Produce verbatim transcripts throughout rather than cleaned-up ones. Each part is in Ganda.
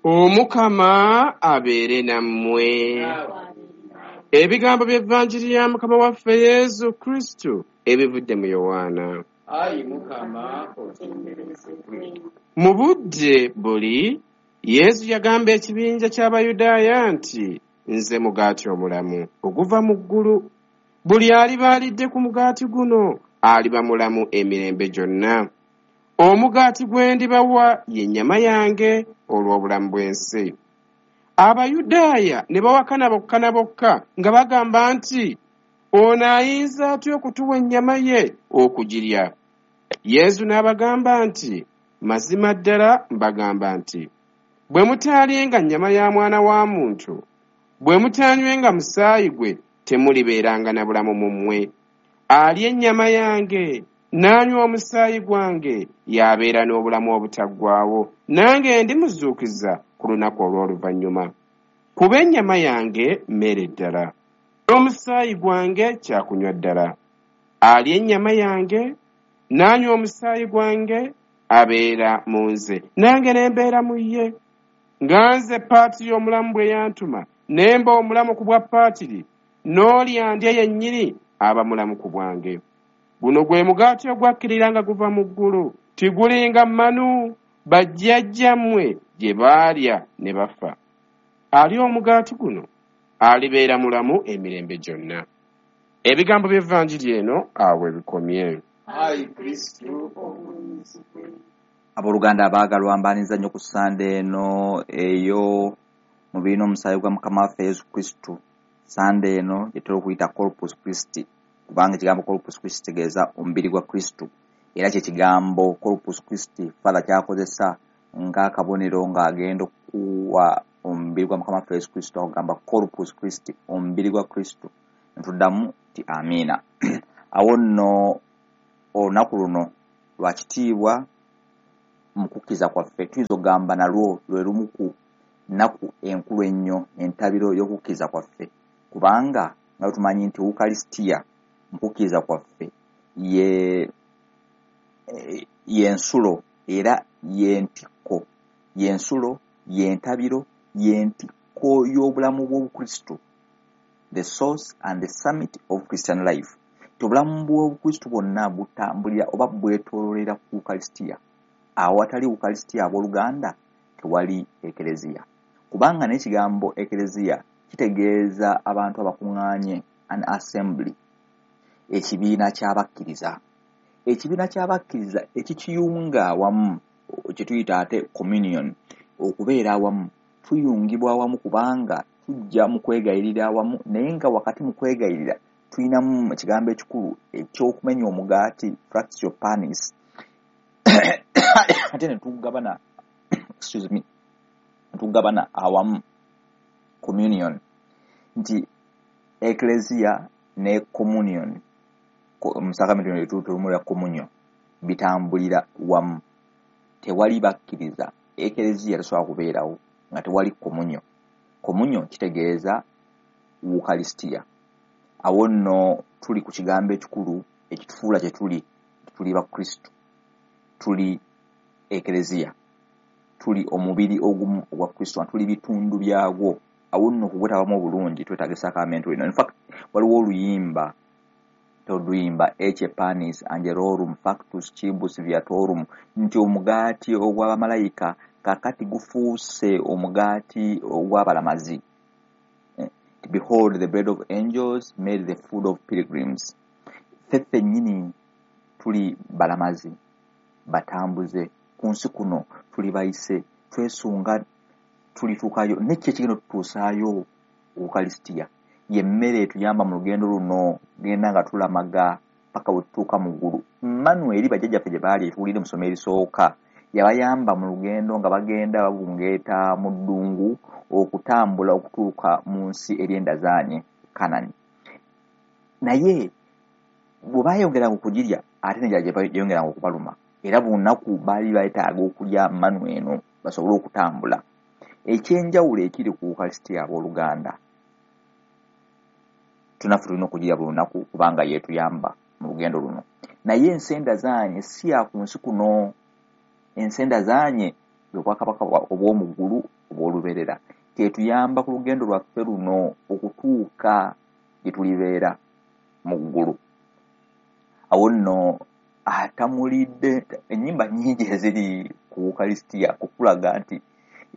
Omukama abeere nammwe. Ebigambo by'Evanjiri ya Mukama waffe Yesu Kristo ebivudde mu Yowaana. Ayi Mukama, otenderezebwe. Mu budde buli Yesu yagamba ekibinja ky'Abayudaaya nti, nze mugaati omulamu oguva mu ggulu. Buli aliba alidde ku mugaati guno aliba mulamu emirembe gyonna. Omugaati gwe ndibawa ye nnyama yange olw'obulamu bw'ensi. Abayudaaya ne bawakana bokka na bokka nga bagamba nti, ono ayinza atya okutuwa ennyama ye okugirya? Yesu n'abagamba nti, mazima ddala mbagamba nti, bwe mutaalyenga nnyama ya mwana wa muntu, bwe mutaanywenga musaayi gwe, temulibeeranga na bulamu mu mmwe. Alya ennyama yange n'anywa omusaayi gwange y'abeera n'obulamu obutaggwaawo, nange ndimuzuukiza ku lunaku olw'oluvannyuma. Kuba ennyama yange mmere ddala, n'omusaayi gwange kyakunywa ddala. Alya ennyama yange n'anywa omusaayi gwange abeera mu nze, nange ne mbeera mu ye. Nga nze Paatiri omulamu bwe yantuma, ne mba omulamu ku bwa Paatiri, n'oli andya yennyini aba mulamu ku bwange. Guno gwe mugaati ogwakkirira nga guva mu ggulu, tigulinga manu bajjajjammwe gye baalya ne bafa. Alya omugaati guno alibeera mulamu emirembe gyonna. Ebigambo by'Evanjiri eno awo bikomye. Ayi Kristo, ogulumizibwe. Abooluganda abaagalwa, mbaaniriza nnyo ku Ssande eno eyo mubiri n'omusaayi gwa Mukama waffe Yesu Kristo. Ssande eno gye tutera okuyita Corpus Christi, kubanga ekigambo Corpus Christi kitegeeza omubiri gwa Kristo. Era kye kigambo Corpus Christi Father ky'akozesa ng'akabonero ng'agenda okuwa omubiri gwa Mukama waffe Yesu Kristo, akugamba Corpus Christi, omubiri gwa Kristo. Ne tuddamu nti amiina. Awo nno olunaku luno lwa kitiibwa mu kukkiriza kwaffe, tuyinza okugamba nalwo lwe lumu ku nnaku enkulu ennyo, entabiro y'okukkiriza kwaffe, kubanga nga tumanyi nti Ukalisitiya mu kukkiriza kwaffe ye y'ensulo era y'entikko, y'ensulo, y'entabiro, y'entikko y'obulamu bw'Obukristo, the source and the summit of Christian life. Obulamu bw'Obukristo bwonna butambulira oba bwetooloolera ku Ukalisitiya. Awatali Ukalisitiya, abooluganda, tewali Ekereziya, kubanga n'ekigambo Ekereziya kitegeeza abantu abakuŋŋaanye, an assembly, ekibiina ky'abakkiriza. Ekibiina ky'abakkiriza ekikiyunga awamu kye tuyita ate communion, okubeera awamu. Tuyungibwa awamu kubanga tujja mu kwegayirira awamu, naye nga wakati mu kwegayirira tulinamu ekigambo ekikulu eky'okumenya omugaati, fractio panis, ate ne tugabana, excuse me, ne tugabana awamu, communion. Nti Ecclesia ne communion mu sacrament tulumulira communion bitambulira wamu. Tewali bakkiriza, Ecclesia tesobola kubeerawo nga tewali communion. Communion kitegeeza Ukalistia. Awo nno tuli ku kigambo ekikulu ekitufuula kye tuli. Tuli Bakristo, tuli Ekereziya, tuli omubiri ogumu ogwa Kristo, tuli bitundu byagwo. Awo nno okugwetabamu obulungi twetaaga esakramento eno. In fact, waliwo oluyimba toluyimba, Ecce panis angelorum factus cibus viatorum, nti omugaati ogw'abamalayika kakati gufuuse omugaati ogw'abalamazi. Behold the bread of angels made the food of pilgrims. Ffe ffennyini tuli balamazi, batambuze ku nsi kuno, tuli bayise, twesunga tulituukayo. Nekki ekigenda otutuusaayo? Ukalisitiya ye mmere etuyamba mu lugendo luno, genda nga tulamaga paka we tutuuka mu ggulu. Manu eri bajjajjaffe gye baali etuwulire mu ssomo erisooka yabayamba mu lugendo nga bagenda babungeeta mu ddungu okutambula okutuuka mu nsi eryendazaanye Kanani. Naye bwe baayongeranga okugirya, ate n'enjala gye yayongeranga okubaluma, era buli lunaku baali beetaaga okulya manu eno basobole okutambula. Ekyenjawulo ekiri ku Ukalisitiya, abooluganda, tunaffe tulina okugirya buli lunaku kubanga yeetuyamba mu lugendo luno. Naye ensenda zaanye si ya ku nsi kuno. Ensenda zaanye bwe bwakabaka obw'omu ggulu obw'olubeerera, kyetuyamba ku lugendo lwaffe luno okutuuka gye tulibeera mu ggulu. Awo nno atamulidde ennyimba nnyingi eziri ku Ukalisitiya kukulaga nti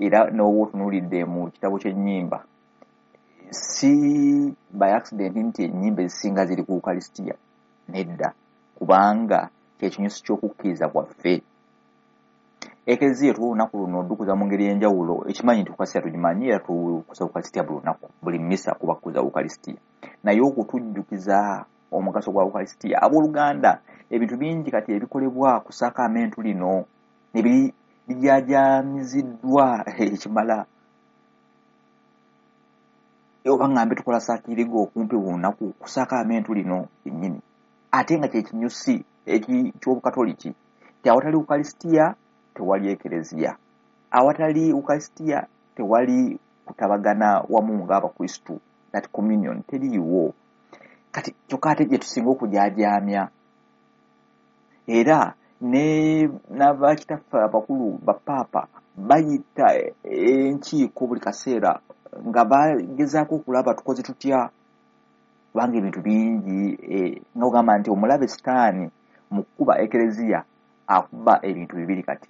era n'oba otunuulidde mu kitabo ky'ennyimba, si by accident nti ennyimba ezisinga ziri ku Ukalisitiya, nedda, kubanga kyekinyusi ky'okukkiriza kwaffe. Ekereziya tuwa olunaku luno odukuza mu ngeri ey'enjawulo, ekimanyi nti Ukalisitiya tugimanyi era tukuza Ukalisitiya buli lunaku, buli mmisa kuba kukuza Ukalisitiya. Naye okutujjukiza omugaso gwa Ukalisitiya, abooluganda, ebintu bingi kati ebikolebwa ku ssakramentu lino ne bijaajaamiziddwa ekimala. Oba ngambe tukola saakirigo okumpi buli lunaku ku ssakramentu lino yennyini, ate nga kyekinyusi eky'Obukatoliki nti awatali Ukalisitiya tewali ekereziya, awatali Ukalisitiya tewali kutabagana wamu ng'Abakristu, that communion teriiwo. Kati kyokka ate gye tusinga okujaajaamya, era ne n'abakitaffe abakulu bapaapa bayita enkiiko buli kaseera nga bagezaako okulaba tukoze tutya, kubanga ebintu bingi nga ogamba nti omulabe Sitaani mu kkuba ekereziya akuba ebintu bibiri kati.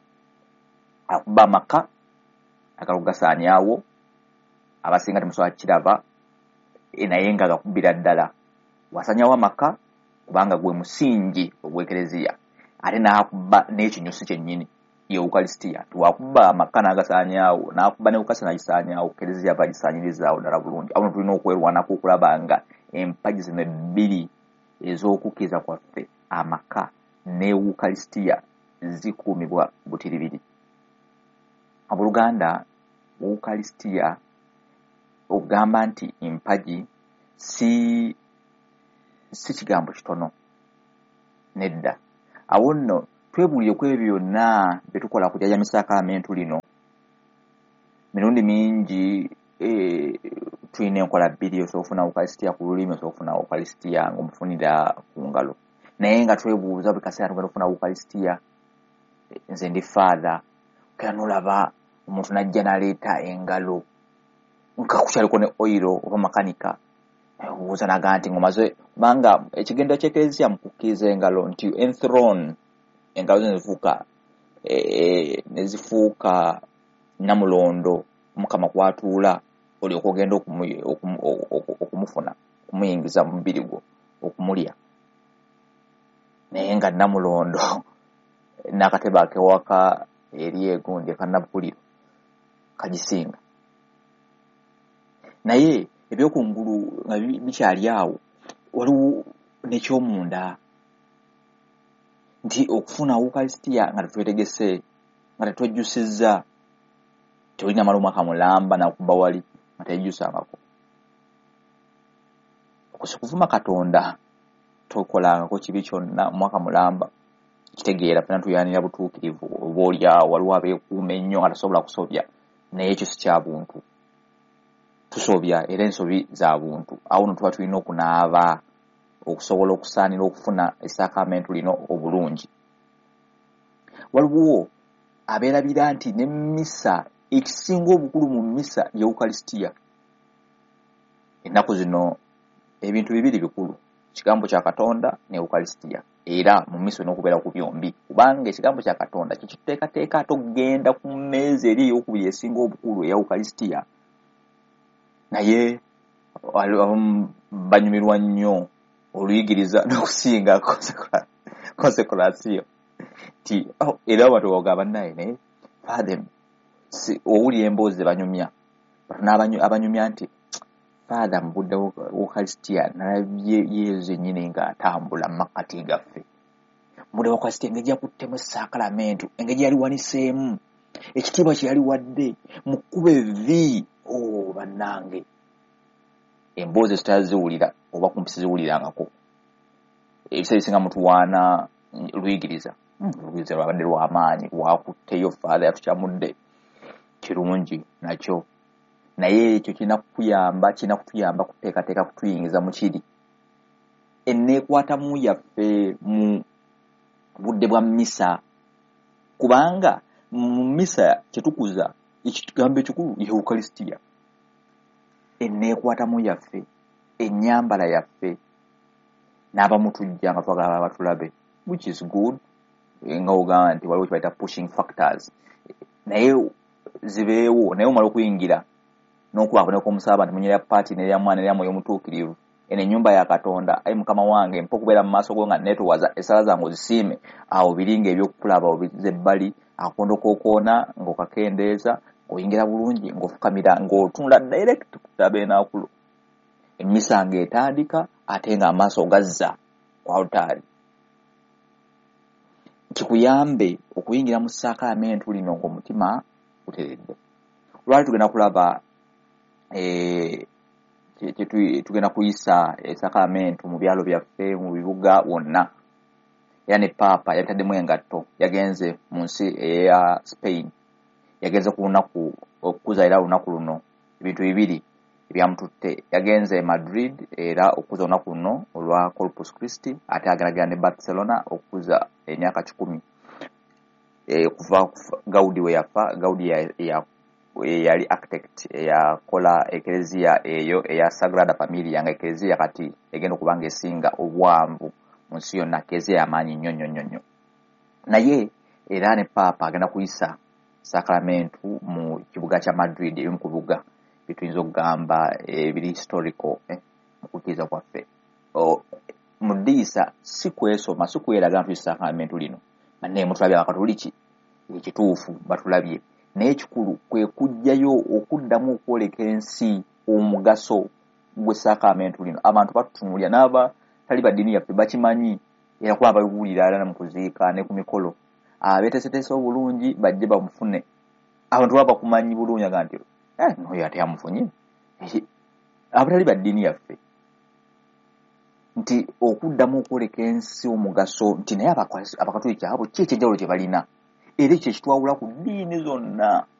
Akuba amaka agala okugasaanyaawo, abasinga temusobola kukiraba, naye nga gakubira ddala. Wasanyawo amaka kubanga gwe musingi ogw'ekereziya, ate n'akuba n'ekinyusi kyennyini ye Ukalisitiya. Wakuba amaka n'agasaanyaawo, n'akuba ne Ukalisitiya n'agisaanyaawo, kereziya aba agisaanyirizaawo ddala bulungi. Awo tulina okwerwanako okulaba nga empagi zino ebbiri ez'okukkiriza kwaffe, amaka ne Ukalisitiya, zikuumibwa butiribiri. Abooluganda, Ukalisitiya okugamba nti empagi si si kigambo kitono, nedda. Awo nno twebuulire ku ebyo byonna bye tukola ku jjajja ssakramentu lino. Mirundi mingi e, tulina enkola bbiri, osobola okufuna Ukalisitiya ku lulimi, osobola okufuna Ukalisitiya ng'omufunira ku ngalo. Naye nga twebuuza buli kaseera tugenda okufuna Ukalisitiya, nze ndi faatha, kera n'olaba omuntu n'ajja n'aleeta engalo nga kukyaliko ne oyiro oba makanika, obuuza n'agamba nti ng'omaze, kubanga ekigendo ky'ekereziya mu kukkiriza engalo nti enthrone, engalo zo ne zifuuka ne zifuuka nnamulondo Omukama kw'atuula, olyoke ogenda okumufuna, okumuyingiza mu mubiri gwo, okumulya. Naye nga nnamulondo n'akatebe ak'ewaka eri egundi ekannabukuliro kagisinga. Naye ebyokungulu nga bikyali awo, waliwo n'ekyomunda nti okufuna Ukalisitiya nga tetwetegese, nga tetwejjusizza, tolina mala omwaka mulamba nakuba wali nga teyejjusangako. Okwo si kuvuma Katonda, tokolangako kibi kyonna omwaka mulamba. Kitegeera ffenna tuyaanira butuukirivu, oba oli awo waliwo abeekuuma ennyo nga tasobola kusobya, naye ekyo si kya buntu. Tusobya era ensobi za buntu. Awo nno tuba tulina okunaaba okusobola okusaanira okufuna essaakamento lino obulungi. Waliwo abeerabira nti ne mmisa, ekisinga obukulu mu mmisa ye Ukalisitiya. Ennaku zino ebintu bibiri bikulu, ekigambo kya Katonda ne Ukalisitiya. Era mu mmisa olina okubeera ku byombi, kubanga ekigambo kya Katonda kikituteekateeka ate okugenda ku mmeeza eri ey'okubiri esinga obukulu eya Ukalisitiya. Naye abamu banyumirwa nnyo oluyigiriza n'okusinga konsekulasiyo nti era abantu bagamba naye naye father, owulira emboozi ze banyumya, abanyumya nti father mu budde Ukalisitiya nalabye Yezu yennyini ng'atambula mu makkati gaffe. Mu budde Ukalisitiya engeri yakuttemu essaakalamentu, engeri yaliwaniseemu, ekitiibwa kye yaliwadde mu kkuba evvi, oh bannange, emboozi ezo tutaziwulira oba kumpi siziwulirangako. Ebiseera ebisinga mutuwaana luyigiriza, oluyigiriza lwabadde lw'amaanyi, lwakutteyo father yatukyamudde, kirungi nakyo. Naye ekyo kirina kukuyamba, kirina kutuyamba kuteekateeka kutuyingiza mu kiri. Enneekwatamu yaffe mu budde bwa mmisa, kubanga mu mmisa kye tukuza Ekigambo ekikulu ye Ukalisitiya, enneekwatamu yaffe, ennyambala yaffe. N'abamu tujja nga twagala batulabe, which is good, nga ogamba nti waliwo kibayita pushing factors, naye zibeewo. Naye omala okuyingira n'okuba akabonero k'omusalaba nti munyerya paati nerya Mwana nerya Mwoyo Omutuukirivu, eno ennyumba ya Katonda. Ayi Mukama wange, mpa okubeera mu maaso go nga neetowaza, essala zange ozisiime. Awo biringa ebyokulaba obiza ebbali, akakondo k'okoona ng'okakendeeza, ng'oyingira bulungi, ng'ofukamira, ng'otunula direct ku tabernakulo. Emmisa ng'etandika ate ng'amaaso ogazza ku alutaari, kikuyambe okuyingira mu ssaakamentu lino ng'omutima guteredde. Lwali tugenda kulaba eh, tugenda kuyisa esakamentu mu byalo byaffe, mu bibuga wonna. Era ne Paapa yabitaddemu engatto, yagenze mu nsi eya Spain, yagenze ku lunaku okukuza era olunaku luno. Ebintu bibiri ebyamututte: yagenze e Madrid era okukuza olunaku luno olwa Corpus Christi, ate ageragera ne Barcelona okukuza emyaka kikumi e, kuva Gaudi we yafa. Gaudi yali architect eyakola ekereziya eyo eya Sagrada Familia, nga ekereziya kati egenda okuba nga esinga obwanvu mu nsi yonna, kereziya yamaanyi nnyo nnyo nnyo nnyo. Naye era ne Paapa agenda kuyisa sakramentu mu kibuga kya Madrid, ebimu ku bibuga bituyinza okugamba ebiri historical eh, mu kukkiriza kwaffe. Mu ddiisa si kwesoma, si kweraga nti sakramentu lino, bannaye mutulabye Abakatoliki, ekituufu batulabye. Naye ekikulu kwe kujjayo okuddamu okwoleka ensi omugaso gw'essakramentu lino. Abantu batutunuulira, n'abatali ba ddiini yaffe bakimanyi, era kuba babiwulira era mu kuziika ne ku mikolo. Abeeteeseteese obulungi bajje bamufune. Abantu baba bakumanyi bulungi, aga nti eh, noyo ate amufunye, abatali ba ddiini yaffe, nti okuddamu okwoleka ensi omugaso nti naye Abakatoliki abo ki ekyenjawulo kye balina, era ekyo ekitwawula ku ddiini zonna.